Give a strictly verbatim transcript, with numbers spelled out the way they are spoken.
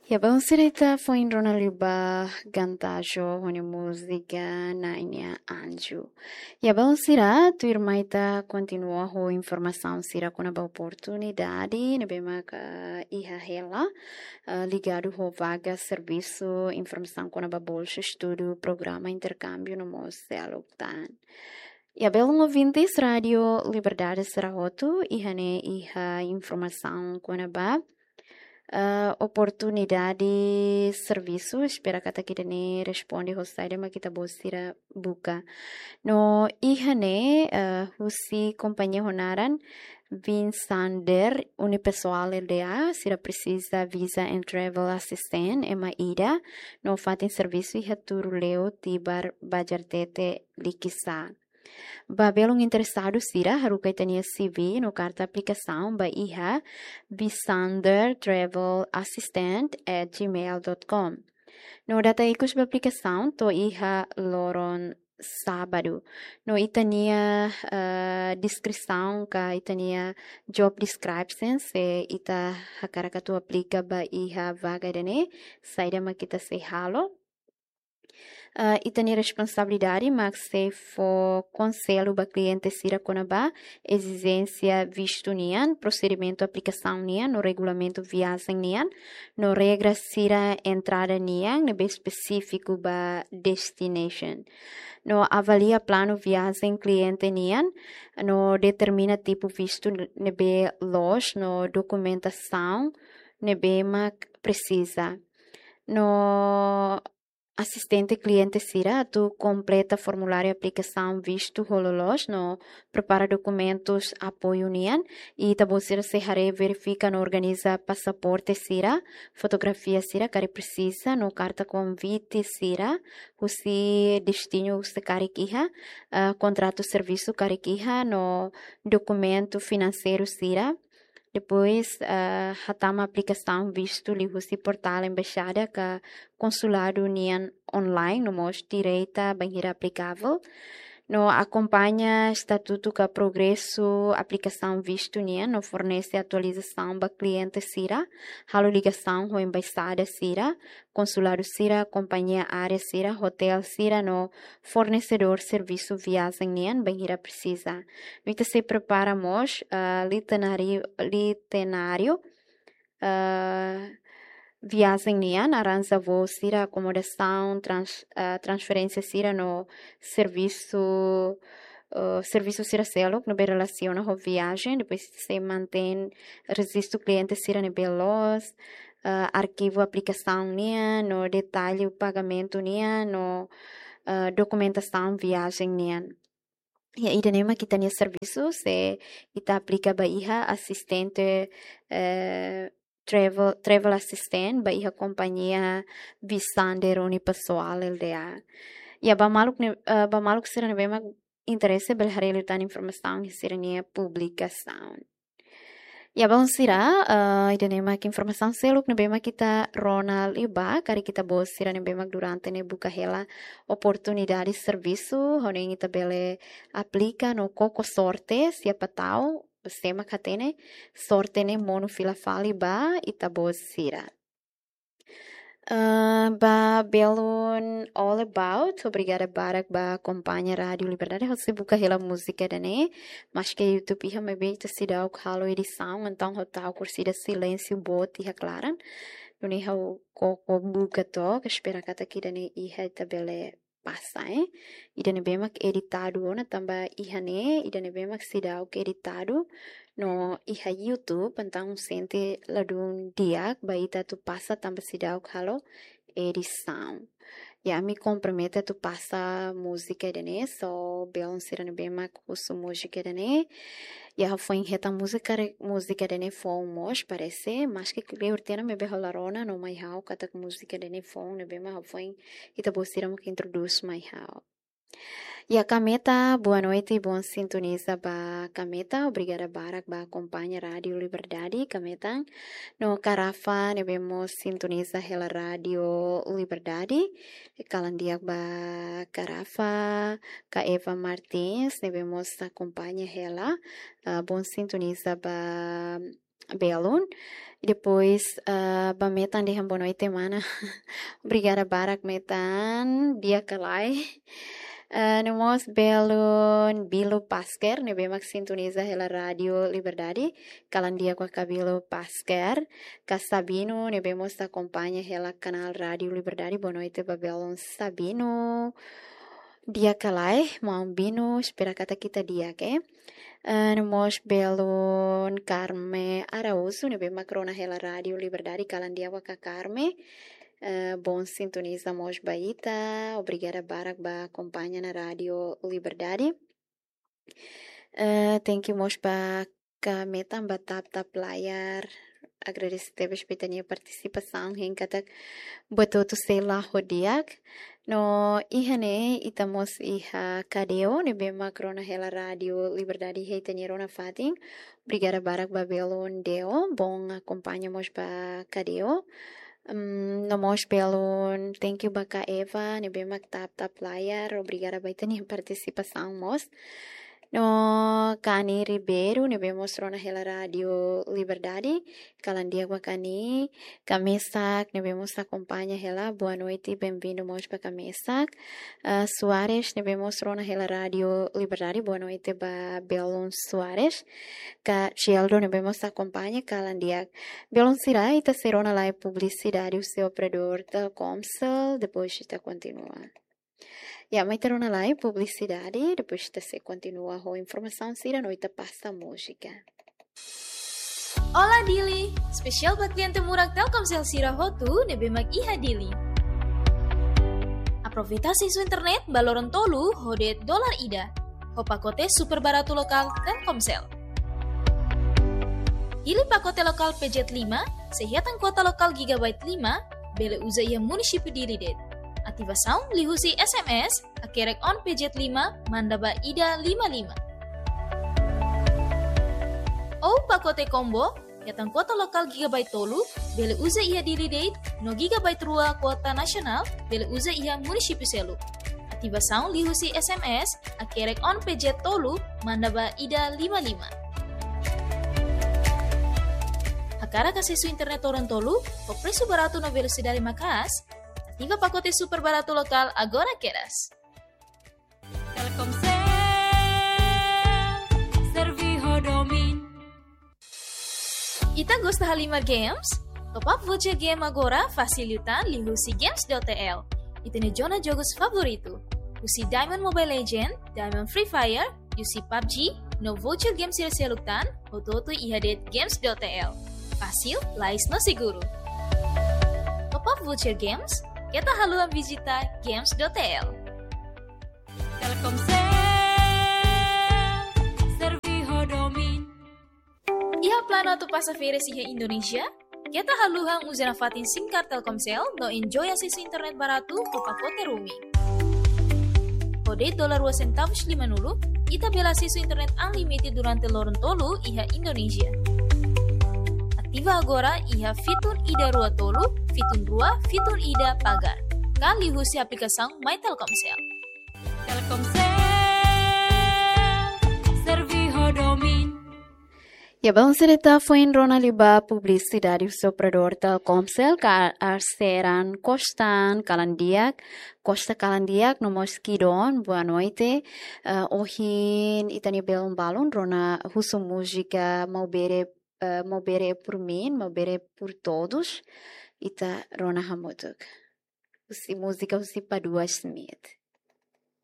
Ya, balu sira, ita foin rona liu ba Gantajo ho nia múzika Nai nia Anju. Ya, balu sira, tuirmai ita kontinua ho informasaun sira kona-ba oportunidade ne'ebé maka iha hela, eh, ligadu ho vaga servisu, informasaun kona-ba bolsa estudu, programa interkámbiu no mós seluk tan. Ya, belun ouvintes Rádiu Liberdade sira hotu, iha ne'e iha informasaun kona-ba, eh, oportunidade servisu, espera katak ida-ne'e responde ho saida mak ita-boot sira buka. No iha ne'e, eh, husi kompañia ho naran Vinsander Unipessoal Lda, sira presiza Visa and Travel Assistant, ema ida, no fatin servisu iha Turuleu, Tibar, Bajartete, Likisá. Ba belun interesadu sira, haruka ita-nia C V no karta aplikasaun ba iha Visander Travel Assistant at gmail dot com. No data ikus ba aplikasaun to'o iha loron sábadu. No ita-nia, eh, deskrisaun ka ita-nia job description, se ita hakarak atu aplika ba iha vaga ida-ne'e, saida mak ita sei halo. Eh, ita-nia responsabilidade mak sei fó konsellu ba kliente sira kona-ba ezijénsia vistu nian, prosedimentu aplikasaun nian, no regulamentu viajen nian, no regra sira entrada nian ne'ebé espesífiku ba destination. No avalia planu viajen kliente nian, no determina tipu vistu ne'ebé loos, no dokumentasaun ne'ebé mak presiza. No asistente kliente sira atu kompleta formuláriu aplikasaun vistu ho loloos no prepara dokumentus apoiu nian, i ita-boot sira sei haree, verifika no organiza pasaporte sira, fotografia sira karik presiza, no karta konvite sira husi destinu se karik iha, eh, kontratu servisu karik iha, no dokumentu finanseiru sira. Depois, eh, hatama aplikasaun vistu liuhusi portál embaixada ka konsuladu nian online, no mós direta bainhira aplikavel. No akompaña estatutu ka progresu aplikasaun vistu nian, no fornese atualizasaun ba kliente sira, halo ligasaun ho embaixada sira, konsuladu sira, kompañia aérea sira, otél sira, no fornesedór servisu viajen nian bainhira presiza. No ita sei prepara mós, ah, litenáriu, litenáriu, ah, viajen nian, arranja voo sira, akomodasaun, trans-, ah, transferénsia sira no servisu, ah, servisu sira seluk ne'ebé relasiona ho viajen, depois sei mantein rejistu kliente sira ne'ebé loos, ah, arkivu aplikasaun nian, no detallu pagamentu nian, no, ah, dokumentasaun viajen nian. Ya, ida-ne'e mak ita-nia servisu, se ita aplika ba iha asistente, eh, travel, travel assistant, ba iha kompañia Visander Unipessoal Lda. Ya, ba maluk ne'e, eh, ba maluk sira ne'ebé mak interese bele haree liután informasaun iha sira-nia publikasaun. Ya, balu sira, eh, ida-ne'e mak informasaun seluk ne'ebé mak ita rona liu ba, karik ita-boot sira ne'ebé mak durante ne'e buka hela oportunidade servisu, hodi ita bele aplika no koko sorte, siapa tahu, sé mak hatene, sorte ne'e monu fila fali ba ita-boot sira. Eh, ba belun all about, obrigada barak ba akompaña Rádiu Liberdade, ha'u sei buka hela múzika ida-ne'e, maske YouTube iha maibé ita seidauk halo edisaun, entaun ha'u tau kursida silénsiu boot iha klaran. Nune'e ha'u koko buka took, espera katak ida-ne'e iha ita bele pasa, eh. Ida ne'ebé mak editadu ona tanba iha ne'e, ida ne'ebé mak seidauk editadu, no iha YouTube, entaun sente ladún di'ak ba ita atu pasa tanba seidauk halo edisaun. Ya, ami kompromete atu pasa múzika ida-ne'e, so belun sira ne'ebé mak husu múzika ida-ne'e. Ya, ha'u foin hetan múzika re-, múzika ida-ne'e foun mós, parese, maske kleur tiha ona maibé ha'u la rona, no mai ha'u katak múzika ida-ne'e foun, ne'ebé mak ha'u foin ita-boot sira mak introdús mai ha'u. Ya, Kameta, boa noite, bom sintoniza ba Kameta, obrigada barak ba akompaña Rádiu Liberdade, Kameta. No Karafa, ne'ebé mós sintoniza hela Rádiu Liberdade, kalan di'ak ba Karafa, ka Eva Martins, ne'ebé mós akompaña hela, ah, bom sintoniza ba belun. Depois, ah, ba Metan dehan boa noite, mana. Obrigada barak, Metan. Di'ak ka lae? Ah, no mós belun Bilo Pasker, ne'ebé mak sintoniza hela Rádiu Liberdade. Kalan di'ak ba Bilo Pasker. Ka Sabino, ne'ebé mós akompaña hela kanál Rádiu Liberdade. Boa noite ba belun Sabino. Di'ak ka lae, maun Bino, espera katak ita di'ak, eh. Eh, no mós belun Carme Araújo, ne'ebé mak rona hela Rádiu Liberdade, kalan di'ak ba Carme. Eh, bom sintoniza mós ba ita, obrigada barak ba akompaña ona Rádiu Liberdade. Eh, thank you mós ba Metan ba tap-tap layar. Agradese tebes ba ita-nia partisipasaun, hein katak buat hotu sei la'o di'ak. No iha ne'e ita mós iha Kadeo, ne'ebé mak rona hela Rádiu Liberdade iha ita-nia rona fatin. Obrigada barak ba belun Deo, bom akompaña mós ba Kadeo. Mm, no mós belun, thank you ba Eva, ne'ebé mak tap-tap layar, obrigada ba ita-nia partisipasaun mós. No Kani Ribeiro, ne'ebé mós rona hela Rádiu Liberdade, kalan di'ak ba Kani, ka Mesak, ne'ebé mós akompaña hela, boa noite, bem-vindo mós ba ka Mesak. Ah, Soares, ne'ebé mós rona hela Rádiu Liberdade, boa noite ba belun Soares. Ka Geldo, ne'ebé mós akompaña, kalan di'ak. Belun sira, ita sei rona lai publisidade husi operadór Telkomsel, depois ita kontinua. Ya, mai ita rona lai publisidade, depois ita sei kontinua ho informasaun sira no ita pasa múzika. Olá Dili, espesiál ba kliente murak Telkomsel sira hotu ne'ebé mak iha Dili. Aproveita asesu internet ba loron tolu ho de'it dolar ida, ho pakote super baratu lokál Telkomsel. Hili pakote lokál P Z lima, sei hetan kuota lokál gigabyte lima, bele uza iha munisípiu Dili de'it. Ativasaun liuhusi S M S, hakerek on P Z lima, manda ba ida lima lima. Ou pakote combo, hetan kuota lokál gigabyte tolu, bele uza iha Dili de'it, no gigabyte rua kuota nasionál, bele uza iha munisípiu seluk. Ativasaun liuhusi S M S, hakerek on P Z tolu, manda ba ida lima lima. Hakarak asesu internet loron tolu, ho presu baratu no velosidade maka'as, ativa pakote super baratu lokál agora kedas. Telkomsel, serve ho domin. Ita gosta halimar games? Top up voucher game agora fasil liután liuhusi Games dot T L. Ita-nia zona jogus favoritu. Husi Diamond Mobile Legend, Diamond Free Fire, U C PUBG, no voucher game sira seluk tan, hotu-hotu iha de'it Games dot T L. Fasil, lais no seguru. Top up voucher games, keta haluha vizita Games dot T L. Telkomsel, serve ho domin. Iha planu atu pasa férias iha Indonézia? Keta haluha uza nafatin SIM card Telkomsel no enjoy asesu internet baratu ho pakote roaming. Ho de'it dolar rua sentavus limanulu, ita bele asesu internet unlimited durante loron tolu iha Indonézia. Ativa agora iha fitun ida rua tolu, fitun rua, fitun ida pagar. Ka liuhusi aplikasaun My Telkomsel. Telkomsel, serve ho domin. Ya, belun sira, ita foin rona liu ba publisidade husi operadór Telkomsel, ka arseran Kostan kalan di'ak, Kosta kalan di'ak, no mós Kidon, boa noite. Eh, ohin ita-nia belun balun rona husu múzika Maubere, eh, Maubere por mim, Maubere por todos. Ita rona hamutuk. Husi múzika husi Padua Smith.